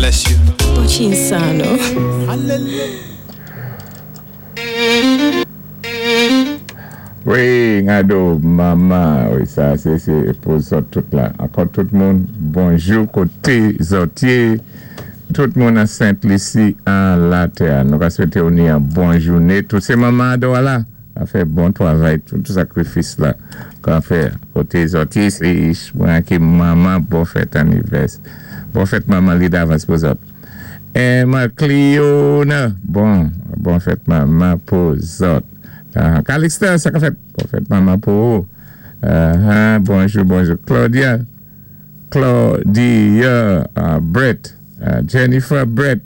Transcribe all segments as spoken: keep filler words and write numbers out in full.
Bless you. Pochi insano. Wi, gado, manman, wi, sa, sé, sé pou zòt tout la. Ankò tout moun, bonjou koté zòt yé, tout moun an Sent Lisi an latè. Nou ka swété ou ni an bon jouné. Tout sé manman andò la, a fè bon twavay, tout sakrifis la, ka fè koté zòt yé, sé mwen ki manman, bon fèt anivèsè. Bon fèt manman li davans pou zòt. Emma Cleona, bon, bon fèt manman pou zòt. Uh, Calixte, sa ka fèt, bon fèt manman pou ou. Uh, bonjou, bonjou. Claudia, Claudia uh, Brett, uh, Jennifer Brett,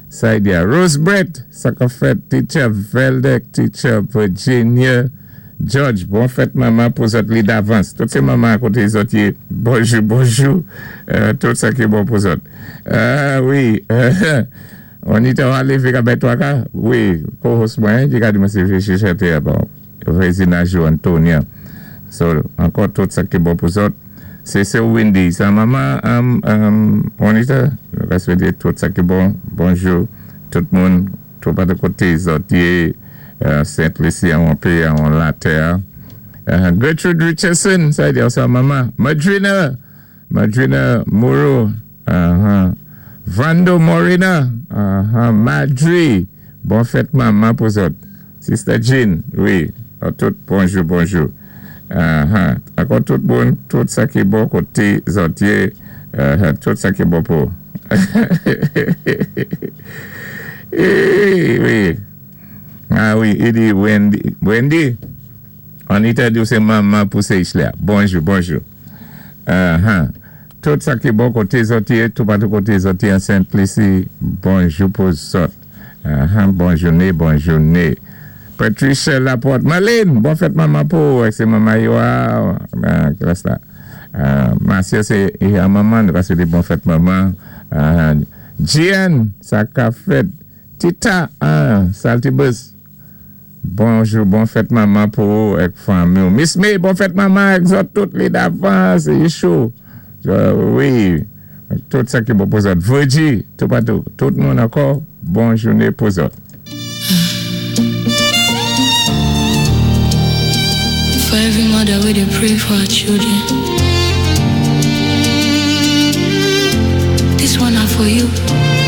Saidia, Rose Brett, sa ka fèt, Teacher Veldek, Teacher Virginia, George, bon fèt manman pou zòt li davans. Tout sé manman koté zòt yé, bonjou, bonjou, uh, tout sa ki bon pou zòt. Uh, wi, uh, on y ta lévé ka bay twa ka? Wi, co-host mwen, ki ka di mwen sé chanté, bon, Regina Jo Antonia. So, ankò tout sa ki bon pou zòt. Sé sé Wendy, sa manman, um, um, Juanita, nou ka swété tout sa ki bon. Bonjou, tout moun, tout pa de koté zòt yé, uh, Sent Lisi an péyi an latè. Uh, Gertrude Richardson, sa di sa manman. Madrina, Madrina Moreau, uh-huh. Vando Morena, uh-huh. Madri, bon fèt manman pou zòt. Sister Jean, wi, tout bonjou, bonjou. Uh-huh. Ankò tout bon, tout sa ki bon koté zòt yé, uh, tout sa ki bon pou. Eh, wi. Ah wi, i di Wendy, Wendy, Anita di sé manman pou sé la. Bonjou, bonjou. Uh-huh. Tout sa ki bon koté zòt yé, tout patou koté zòt yé an Sent Lisi, bonjou pou zòt. Uh-huh. Bon jouné, bon jouné. Patricia Laporte, Marlene, bon fèt manman pou, sé manman yo, ah, klas la. Uh, Marcia, sé manman, nou ka swété bon fèt manman. Uh, Gian, sa ka fèt. Tita, ah, Salty Buzz. Bonjou, bon fèt manman pou èk fanmi. Miss May, bon fèt manman èk zòt tout li davans, sé chou. Wi, tout sa ki bon pou zòt. Virgie, tout patou, tout moun ankò, bon jouné pou zòt. For every mother we dey pray for our children. This one na for you.